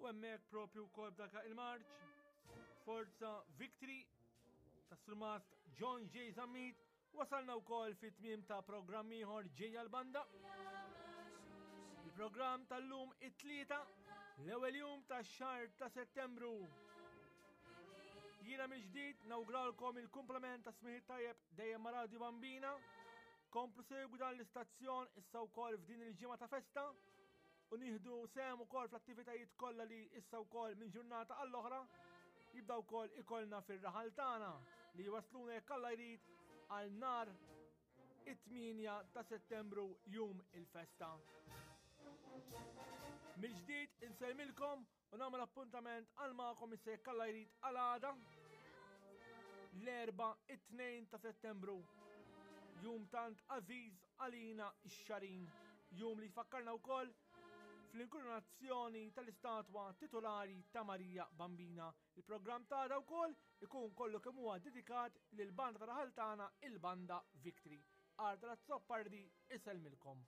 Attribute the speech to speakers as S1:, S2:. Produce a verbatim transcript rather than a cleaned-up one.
S1: U hemmhekk propju wkoll b'dak il-marċ Forza Victory ta' Surmast John J. Zammit wasalna wkoll fit-tmiem ta' programm ieħor Ġejja l-Banda. Il-programm tal-lum it-Tlieta, l-ewwel jum tax-xahar ta' Settembru. Jiena mill-ġdid nawguralkom il-kumplament ta' smigħ tajjeb dejjem ma' Radio Bambina. Komplu segwu dan l-istazzjon issa wkoll f'din il-ġimgħa ta' festa u nieħdu sehem ukoll fl-attivitajiet kollha li issa wkoll minn ġurnata għall-oħra jibda wkoll ikollna fir-raħal tagħna li jwasluna, jekk Alla jrid, għal nhar it-tmienja ta' Settembru, jum il-festa. Mill-ġdid insellmilkom u nagħmel appuntament għal magħkom issa, jekk Alla jrid, għal għada, l-Erbgħa, it-tnejn ta' Settembru. Jum tant għażiż għalina ix-Xagħrin. Jum li jfakkarna wkoll fl-inkoronazzjoni tal-istatwa titolari ta' Marija Bambina. Il-programm ta' wkoll ikun kollu kemm huwa dedikat lil banda ta' raħal tagħna, il-Banda Victory. Arthur Azzopardi isellmilkom.